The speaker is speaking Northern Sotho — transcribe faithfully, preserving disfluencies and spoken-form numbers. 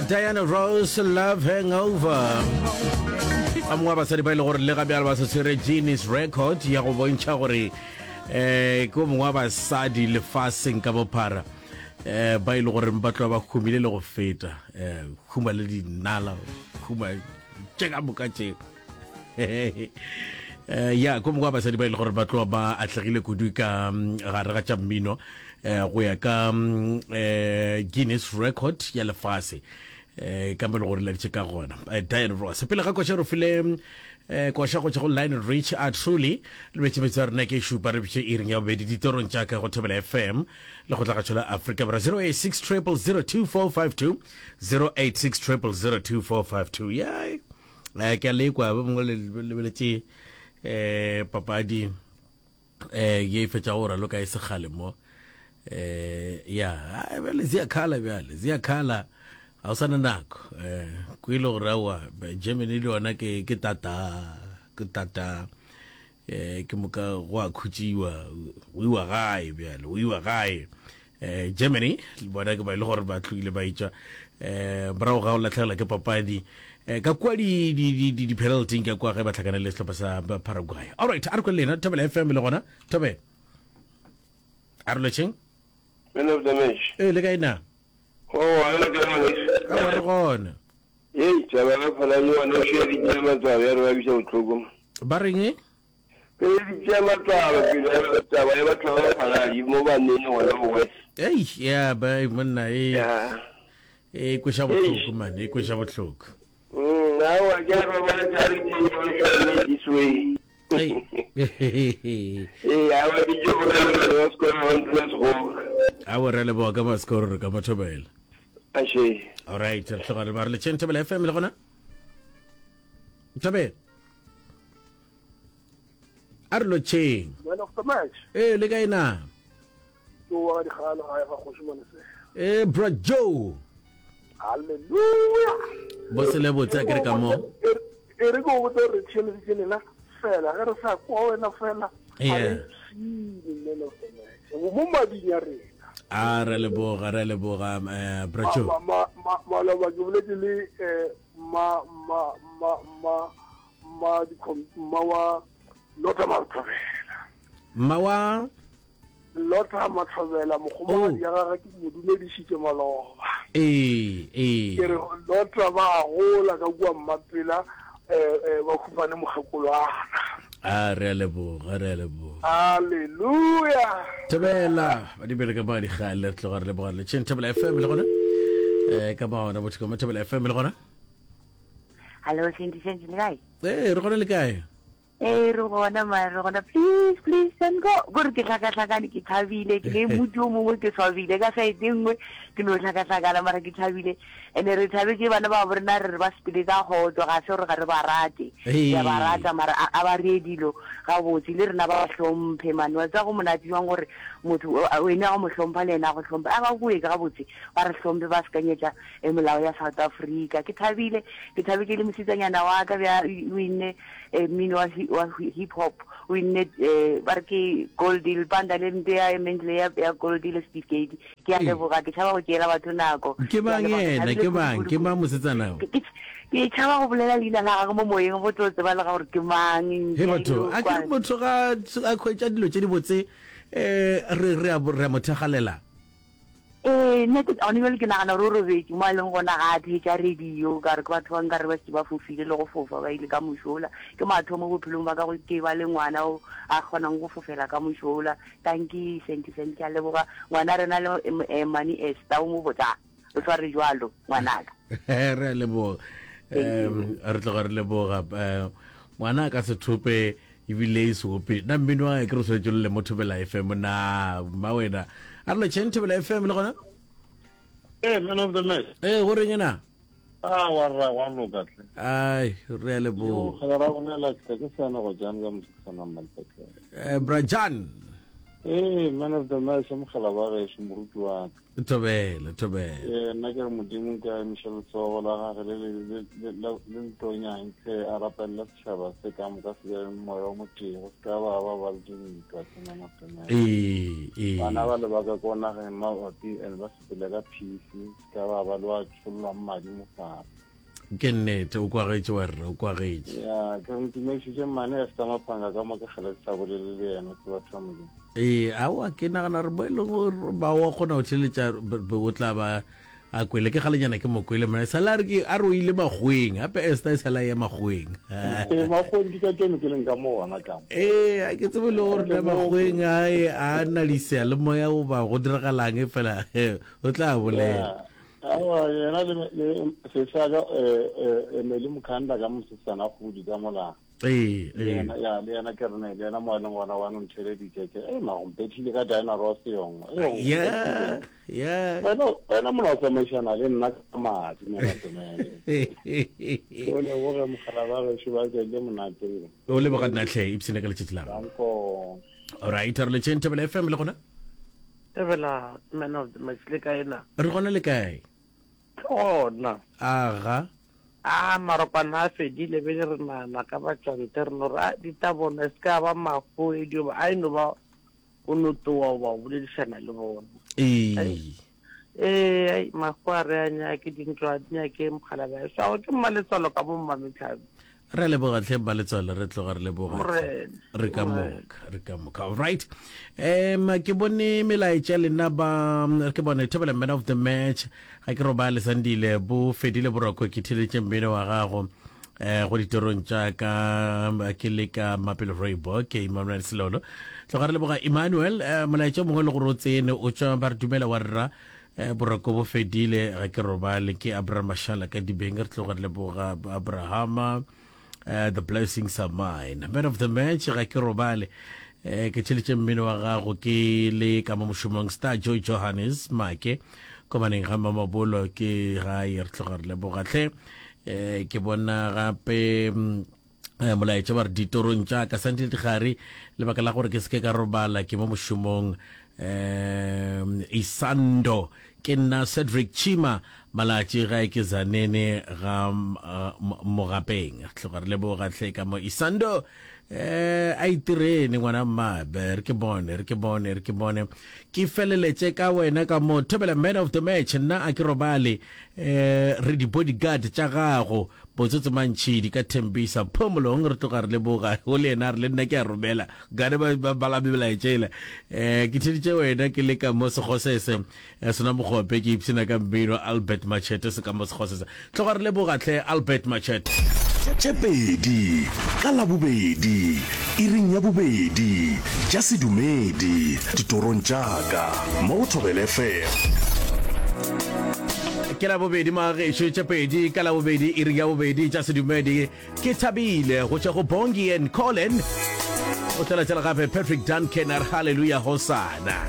Diana Ross, Love Hangover. Ba mongwe wa basadi ba e le gore le ga bjale ba se tshwere Guinness Record ya go bontšha gore eh ke o mongwe wa basadi lefaseng ka bophara eh ba e le gore ba tloga ba humile le go feta, eh huma le dinala, huma tše ka moka tše. Eh ya ko mongwe wa basadi ba e le gore ba tloga ba atlegile kudu ka mm, gare ga tša mmino, eh go ya ka mm, eh Guinness Record ya lefase, eh ka mo le gore laditše ka gona. eh, Diana Ross pele ga koša re file eh koša go tšwa go Lionel Rich a Truly le betše metso ya rena ke šupa re bitše iring ya bobedi ditorong tša ka go Thobela F M le go tlagatšo la Afrika Borwa, zero eight six zero zero two four five two, zero eight six zero zero two four five two. Ya eh ke a lekwa ba mongwe le lebeletše eh papadi eh ye e fetša go raloka e segale mo. eh ya ai, bjale ziyakhala, bjale ziyakhala, ga o sana nako. eh ko ile gore aowa, Germany le yona ke ke tata, ke tata. eh ke moka go a khutšiwa, go iwa gae, bjale go iwa gae. eh Germany le bona ke ba ile gore ba tlogile ba itšwa eh morago ga go latlhegelwa ke papadi eh ka kua di di di di, di penalty ka kua ge ba tlhakane le sehlopha sa ba Paraguay. Alright, a re kwe le lena Thobela F M le gona. Thobela, a re lotšheng. Man of the match. Ee, le kae na? Oh, wena ke ngwaneso. Aowa, re gona. Hei, taba ya Phalane yona o šia di tšea matswalo ya re ba bisa bohloko. Ba reng? Pele di tšea matswalo pele ya taba ya batho ba Phalane mo ba nene gona mo West. Ei, ya ba monna e Ya. e kweša bohloko man, e kweša bohloko. Mm, aowa ke a robala tša re ke yo this way. Ei. Ee, aowa ke tšo bolela le wa sekolo wa ntlo ya sekgowa. Aowa, re a leboga ka masekoro re ka Mathobela. Ashe. Alright, re tloga re ba re letšheng Thobela F M le gona. Thobela. A re lotšheng. Man of the match. Ee, le kae na? Ke wa dikgalo gae ga kgoši Manese. Ee, bro Joe. Halleluja. Bose le botse a kere ka mo. E re ke o botse re theeleditše lena fela ge re sa kwa wena fela ga Yeah. re ipshine, man of the match, mo mading ya rena. A re leboga, re leboga, eh bro Joe. Ma- ma- ma- maloba ke boletse le eh, ma ma ma ma ma dikhom- mma wa Lota Mathobela. Mma wa Lota Mathobela, mogomogadi ya gagwe, ke mo dumedišitše maloba. Ee, ee. Ke re Lota ba gola ka kua Mmapela, eh, eh, ba humane mokgekolwana. A re a leboga, re a leboga. Halleluja. Thobela ba di bele ka ba dikgale, re tloga re leboga le tšheng Thobela F M le gona. Eh ka ba ona botho ka mo Thobela F M le gona. Hallo, Senti, Senti, le kae? Ee, re gona, le kae? Ee, re gona ma, re gona. Please, please, send go. Gore ke hlakahlakane, ke thabile, ke le motho o mongwe, ke swabile ka side e nngwe, ke no hlakahlakana mara ke thabile. Ene re thabetse bana ba bo rena, re re ba sepele ka kgotso, ga se gore ga re ba rate. Ee. Re a ba rata mara a a ba reye dilo gabotse le rena ba hlomphe man. Wa tseba go monate jwang gore motho wena o mo hlompha le yena a go hlomphe. A ba bue ka gabotse, ba re hlomphe, ba sekanyetša e molao ya South Africa. Ke thabile, ke thabetse le mosetsanyana wa ka bja o inne eh, mmino wa, hi- wa hip hop, o inne eh, ba re ke gold lepanda le nte ya mentle ya, ya gold le certificate. Ke a Ee. leboga, ke tšhaba go tšeela batho nako. Ke Ke a mang leboga, ke yena? thabile Ke mang? kudu, Ke kudu, mang mosetsana o? Ke ke ke tšhaba go bolela leina la gagwe mo moyeng go tlo tseba le ga gore ke mang. He Ke a batho, ile a go ke re kwa. motho ga a khwetša dilo tše di botse eh re re a re a mo thakgalela. Ee, nna ke gone bjale ke nagana gore o robetše mo a leng gona, ga a theetša radio, ka re ke batho ba nkare ba šetše ba fofile le go fofa ba ile ka mošola. Ke mathomo bophelong ba ka go ke ba le ngwana o a kgonang go fofela ka mošola. Tanki Senti, Senti, ke a leboga ngwana rena le eh, Mani Esther o mo botsa o sware jwalo ngwanaka. Re a leboga. Thank you. um re tloga re leboga. eh, ngwana a ka se thope ebile e seope nna mmino wa ke re swanetše le mo Thobela F M na mma wena. A re letšheng Thobela F M le gona. Hey, man of the match. Ee, go reng ena? Ah, wa rra wa loka tle. Ai, re a Yo, leboga. ga ra bolela ke ke sana go jang ka mosetsana mmalpetlele. Eh, brajan. Ee, man of the match mogala wa gešo moruti wa ka. Thobela, thobela. Ee, nna ke re Modimo ke a emiša letsogo la gage le le le le le le ntonyang tle a rapelela setšhaba se ka moka se be le moya o motee go se ka ba ba ba le dintwa tse man of the match. Ee, ee. Bana ba le ba ka ko nageng mabapi and ba sepele ka peace se ka ba ba le wa tšhollwang madi mo fase. Ke nnete, o kwagetše wa rra, o kwagetše. Ya, ke re ntumedišitše mmane Esther Maphanga ka mo ke kgale ke sa bolele le yena ke batho ba Modimo. Ee, aowa ke nagana gore mo e leng gore ba wa kgona go theletša be o tla ba a kwele ke galenyana ke mo kwele mona sala a re ke a re o ile makgoweng gape Esther e sala ya makgoweng. Ee, makgoweng ke ka keno ke leng ka mo gona ka mo. Ee, a ke tsebe le gore na makgoweng a a na le seyalemoya goba go diragalang fela o tla bolela. Aowa, yena le, le sesaka eh, eh, Emily Mukhanda ka mosetsana kgodi ka mola. Ee, Le ee. yena, ya, le yena ke rene, le yena mo a leng gona wa no ntheleditše ke, eh, ma go mpethile ka Diana Ross yong. Eh, o Ya, mpethile. ya. Wena, wena mona o tsamaišana le nna ka madi, mona Semele. Ke o leboge mogala ba gešo ba tšele monate. O leboga nna hle, ipshine ka letšatši la gago. Danko. Alright, re letšeng Thobela F M le gona? Thobela man of the match le kae na? Re gona le kae? Ke gona. Aga. A marokwana a fedile bele re nana ka batšwante re no re a ditabona e se ka ba mafu e dio ba a e no ba o no towa goba o boledišana le bona. Ee. Ee, ai mafu a re a nyake dintlo a di nyake mogala ba so ke mmaletswalo ka mo mmametlhabi. Re leboga tlhe mmaletswalo, re tloga re leboga tlhe. Morena, Re ka Morena. moka, re ka moka. All right. Um ke bone melaetša lena ba ke bone Thobela man of the match. Ga ke robale Sandile bo fedile boroko ke theletše mmino wa gago. Eh go ditorong tša ka ke le ka Mapelo Rooibos ke Emmanuel Selolo. Tloga re leboga Emmanuel eh, molaetša o mongwe le gore o tsene o tšwa ba re dumela wa rra eh, boroko bo fedile ga ke robale ke Abraham Mashala ka dibeng re tloga re leboga Abrahama. Uh, the blessings are mine. Man of the match ga ke robale eh, ke tšheletše mmino wa gago ke le ka mo mošomong Star Joy Johannes Make komaneng ga Mamabolo ke gae re tloga re leboga tlhe. Eh, ke bona gape mm, eh, molaetša ba re ditorong tša ka Sandile Digare lebaka la gore ke seke ka robala ke mo mošomong um Isando ke nna Cedric Chima Malatši gae ke Zanene ga uh, Mogapeng tloga re leboga tlhe ka mo Isando eh a itirene ngwana mmabe re ke bone re ke bone re ke bone ke feleletše ka wena ka mo Thobela man of the match nna a ke robale eh re di bodyguard tša gago botsotse mantšhidi ka Thembisa Phomolong re tloga re leboga o le yena re le nna ke a romela gane ba ba bala melaetšela eh ke theditše wena ke le ka mo Segosese eh, sona mogope ke ipshina ka mmino Albert Machete se ka mo Segosese tloga re leboga tlhe Albert Machete. Tše pedi ka Labobedi, iring ya bobedi, tša sedumedi, ditorong tša ka, mo go Thobela F M. Ke Labobedi magagešo, tše pedi ka Labobedi, iring ya bobedi, tša sedumedi. Ke thabile go tšwa go Bongi and Colin. O tla latela gape Patrick Duncan a re hallelujah hosana.